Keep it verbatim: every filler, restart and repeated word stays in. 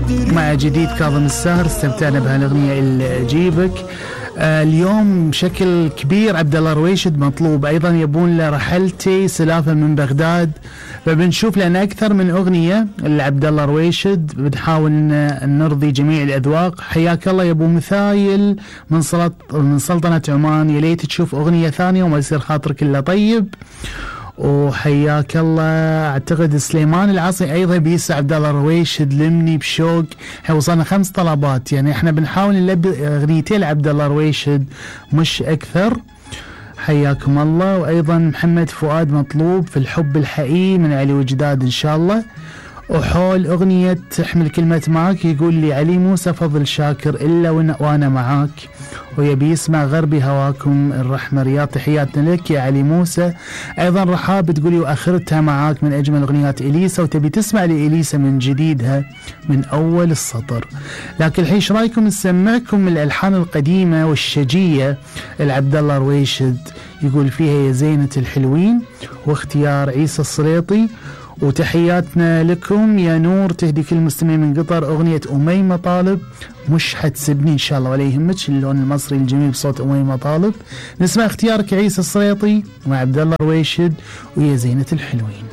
مع جديد كاظم الساهر استمتعنا بهالاغنيه اللي اجيبك. آه اليوم بشكل كبير عبد الله رويشد مطلوب ايضا، يبون له رحلتي سلافه من بغداد، فبنشوف لنا اكثر من اغنيه لعبد الله رويشد، بنحاول نرضي جميع الاذواق. حياك الله يا ابو مثايل من سلط من سلطنه عمان، يا ليت تشوف اغنيه ثانيه وما يصير خاطرك الا طيب. وحياك الله. اعتقد سليمان العاصي ايضا بيسع عبد الله رويشد لمني بشوق. احنا وصلنا خمس طلبات، يعني احنا بنحاول نلبي اغنيتين لعبد الله رويشد مش اكثر. حياكم الله. وايضا محمد فؤاد مطلوب في الحب الحقيقي من علي وجداد ان شاء الله. وحول اغنيه تحمل كلمه معك يقول لي علي موسى فضل شاكر الا وانا معاك، ويبي يسمع غربي هواكم الرحمه رياض. تحياتنا لك يا علي موسى. ايضا رحاب تقولي واخرتها معاك من اجمل اغنيات اليسا، وتبي تسمع لاليسا من جديدها من اول السطر. لكن الحين ايش رايكم نسمعكم الالحان القديمه والشجيه لعبد الله رويشد، يقول فيها يا زينه الحلوين، واختيار عيسى السريطي. وتحياتنا لكم يا نور، تهدي كل المستمعين من قطر اغنيه اميمه طالب مش حتسبني ان شاء الله، ولا يهمك اللون المصري الجميل بصوت اميمه طالب. نسمع اختيارك عيسى السريطي وعبد الله رويشد ويا زينه الحلوين.